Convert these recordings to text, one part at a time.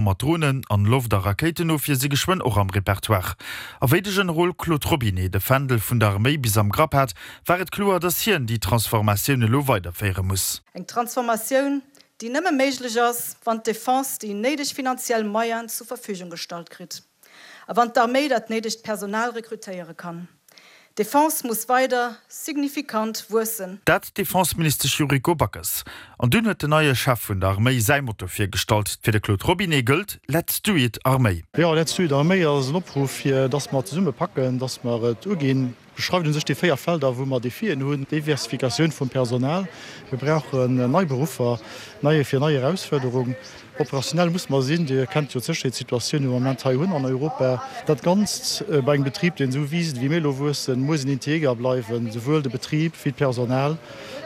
Mat Dronen an Loft a Rakéitenofwier si geschwënn och am Repertoire. A wéi de Generol Claude Robinet de Fändel vun der Arméi bis am Grapp hat, war et kloer, datt hien déi Transformatioun elo weiderféiere muss. Eng Transformatioun, déi nëmme méiglech ass, wann d'Defense déi néideg finanziell Moyenen zur Verfügung gestallt kritt a wann d'Arméi dat néidegt Personal rekrutéiere kann. D'Defense muss weider signifikant wuessen. Dat d'Defenseministesch Yuriko Backes. An dunn huet den neie Chef vun der Arméi säi Motto virgestallt. Fir de Claude Robinet gëllt, Let's do it Arméi. Jo, Let's do it Arméi ass en Opruff, fir dass mer zesumme packen, dass mer et uginn. Beschreift un sech déi 4 Felder, wou mer Defien hunn, Diversifikatioun vum Personal, mir brauchen nei Beruffer, nei fir nei Erausfuerderung, operationell musse mer sinn, Dir kennt jo d'Sécherheetssituatioun, déi mer am Moment hei hunn an Europa. Dat Ganzt bei engem Betrib, deen esou wiisst, wéi mir elo wuessen, muss en integer bleiwen, souwuel de Betrib wéi d'Personal.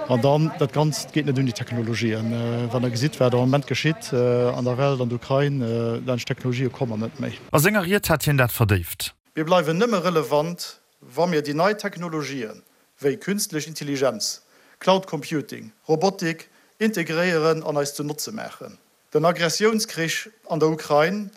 An dann, dat Ganzt geet net ouni Technologien. Wann Der gesitt, wat am Moment geschitt an der Welt, an der Ukrain, laanscht Technologië komme mer net méi. A senger Ried hat hien dat verdéift. Mir bleiwen nëmme relevant, wa mir déi nei Technologien, wéi künstlech Intelligenz, Cloud Computing, Robotik, integréieren an eis zu Notze maachen. Den Agressiounskrich an der Ukrain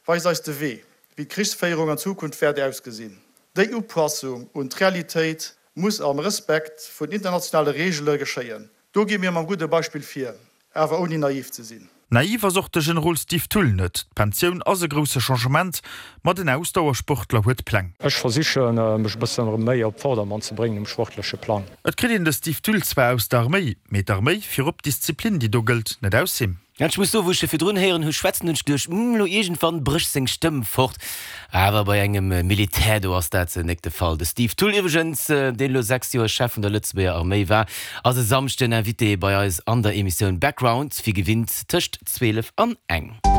weist eis de Wee, wéi d'Krichsféierung an Zukunft wäert ausgesinn. Déi Upassung un d'Realitéit muss am Respekt vun internationale Reegele geschéien. Do gi mir mam gudde Beispill vir, awer ouni naiv ze sinn. Naiv ass och de Generol Steve Thull net. D'Pensioun ass e grousse Changement, ma den Ausdauersportler huet Pläng. Ech versiche mech e bëssen erëm méi op Vordermann ze bréngen um sportleche Plang. Et kritt een de Steve Thull zwar aus der Arméi, mee d'Arméi, virop d'Disziplin déi do gëllt, net aus him. Ech muss soen, wou ech e virdrun héieren hu schwätzen, hunn ech geduecht, Hm, elo iergendwann brécht seng Stëmm fort. Awer bei engem Militär, do ass dat nek de Fall. De Steve Thull iwwregens, deen elo 6 Joer Chef vun der Lëtzebuerger Arméi war, ass e Samschden Invité bei eis an der Emissioun Background, wéi gewinnt tëscht 12 an eng.